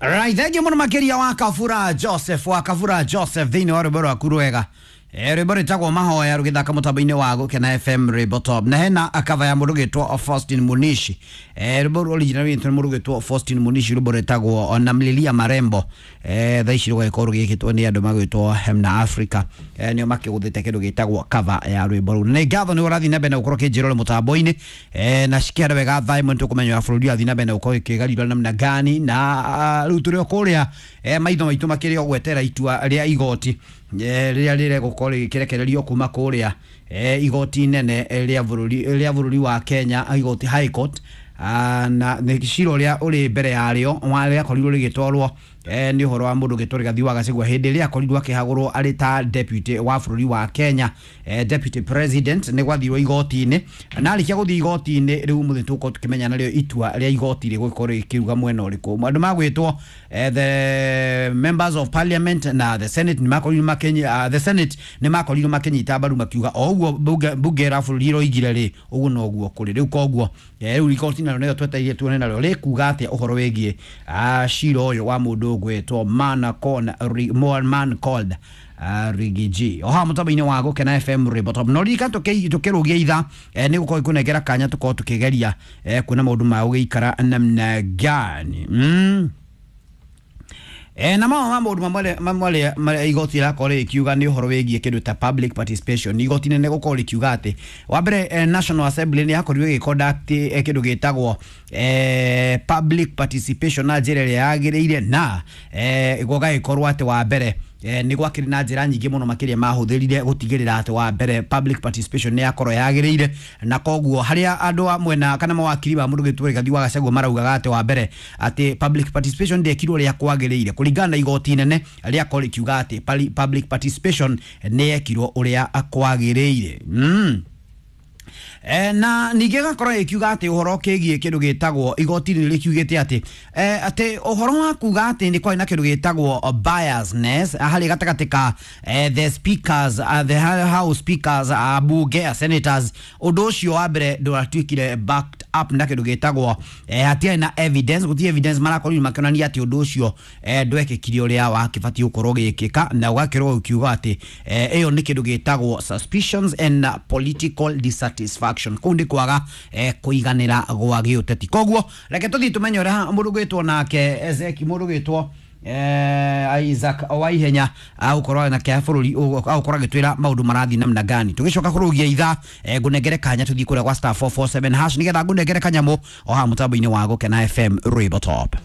Right, thank you muno makiria wa Kabura Joseph, wa Kabura Joseph thĩinĩ wa rwĩmbo rwaku rwega. Rwĩmbo rwĩtagwo Mahoya rũgĩthaka mũtambo-inĩ wa Gũkena FM Rwĩmbo Top. Na hena cover ya mũndũ ũgĩtwo Faustin Munishi. Rwĩmbo rũu original rwĩtwo nĩ mũndũ ũgĩtwo Faustin Munishi, rwĩmbo rwĩtagwo Namlilia Marembo. Thaa ici rũgagĩkorwo rũgĩkĩtwo nĩ andũ magwĩtwo Hemna Africa. Nĩo makĩgũthĩte kĩndũ gĩtagwo cover ya rwĩmbo rũu. Na nĩ ngatho nĩ ũrathiĩ na mbere na gũkorwo ũkĩnjĩra ũrĩ mũtambo-inĩ. Na cikĩhanda wega thaa ĩmwe nĩtũkũmenya ũrĩa bũrũri ũrathiĩ na mbere na gũkorwo ũkĩgarũra namna gani, na rĩu tũrĩ o kũrĩa maitho maitũ makĩrĩ o gwetera itua rĩa igoti rĩrĩa rĩregũkorwo rĩgĩkĩrekererio kuma kũrĩa igoti inene rĩa bũrũri wa Kenya, igoti High Court. Na nĩ cira ũrĩa ũrĩ mbere yarĩo rĩakorirwo rĩgĩtwarwo nĩ ũhoro wa mũndũ ũgĩtwo Rigathi wa Gachagua hĩndĩ ĩrĩa akorirwo akĩhagũrwo arĩ ta deputy wa bũrũri wa Kenya, deputy president. Nĩ gwathirwo igoti-inĩ, na arĩkia gũthiĩ igoti-inĩ rĩu mũthĩ tũgũkorwo tũkĩmenya narĩo itua rĩa igoti rĩgũkorwo rĩkiuga mwena ũrĩkũ. Andũ magwĩtwo the members of parliament na the senate nĩ makorirwo makĩnyi the senate nĩ makorirwo makĩnyita mbaru, makiuga o ũguo bunge ra bũrũri roigire rĩ, ũguo noguo kũrĩ rĩu. Koguo rĩu igoti narĩo nĩrĩo twetereire tuone narĩo rĩkuga atĩa ũhoro wĩgiĩ cira ũyũ wa mũndũ ũgwĩtwo man called Riggy G. O haha mũtambo-inĩ wa Gũkena FM Rwĩmbo Top. No ririkana tũkĩrũgia ithaa nĩ gũkorwo ikũnengera kanya tũkorwo tũkĩgeria kuona maũndũ ma gũgĩikara namna gani. Na mamwe ma maũndũ mamwe marĩa igoti rĩrakorwo rĩkiuga nĩ ũhoro wĩgiĩ kĩndũ ta public participation. Igoti nene gũkorwo rĩkiuga atĩ wa mbere National Assembly nĩ yakorirwo ĩgĩconduct kĩndũ gĩtagwo public participation na njĩra ĩrĩa yagĩrĩire, na gũgagĩkorwo atĩ wa mbere nĩ gwakĩrĩ na njĩra nyingĩ mũno makĩria mahũthĩrire gũtigĩrĩra atĩ wa mbere public participation nĩ yakorwo yagĩrĩire. Na koguo harĩa andũ a mwena kana mawakiri ma mũndũ gĩtwo Rigathi wa Gachagua maraugaga atĩ wa mbere atĩ public participation ndĩekirwo ũrĩa kwagĩrĩire, kũringana na igoti inene rĩakorwo rĩkiuga atĩ public participation nĩ yekirwo ũrĩa kwagĩrĩire. Na ningĩ gakorwo ĩkiuga atĩ ũhoro kĩgiĩ kĩndũ gĩtagwo igoti nĩ rĩkiugĩte atĩ atĩ ũhoro wa kuga atĩ nĩ kwarĩ na kĩndũ gĩtagwo biasness harĩ gatagatĩ ka the speakers, the house speakers, bunge senators, ũndũ ũcio wa mbere ndũratuĩkire backed up na kĩndũ gĩtagwo hatiarĩ na evidence, gũtirĩ evidence marakorirwo makĩonania atĩ ũndũ ũcio ndwekĩkire ũrĩa wakĩbatiĩ gũkorwo ũgĩkĩka, na ũgakĩrwo ũkiuga atĩ ĩyo nĩ kĩndũ gĩtagwo suspicions and political dissatisfaction. Kũu nĩ kwaga kũiganĩra gwa gĩũteti. Koguo reke tũthiĩ tũmenye ũrĩa mũndũ gwĩtwo nake Ezeki, mũndũ gwĩtwo Isaac Waihenya agũkorwo na kĩa bũrũri agũkorwo agĩtwĩra maũndũ marathiĩ namna gani. Tũgĩcoka kũrũgia ithaa ngũnengere kanya tũthiĩ kũrĩa gwa *447# nĩgetha ngũnengere kanyamũ o haha mũtambo-inĩ wa Gũkena FM Rwĩmbo Top.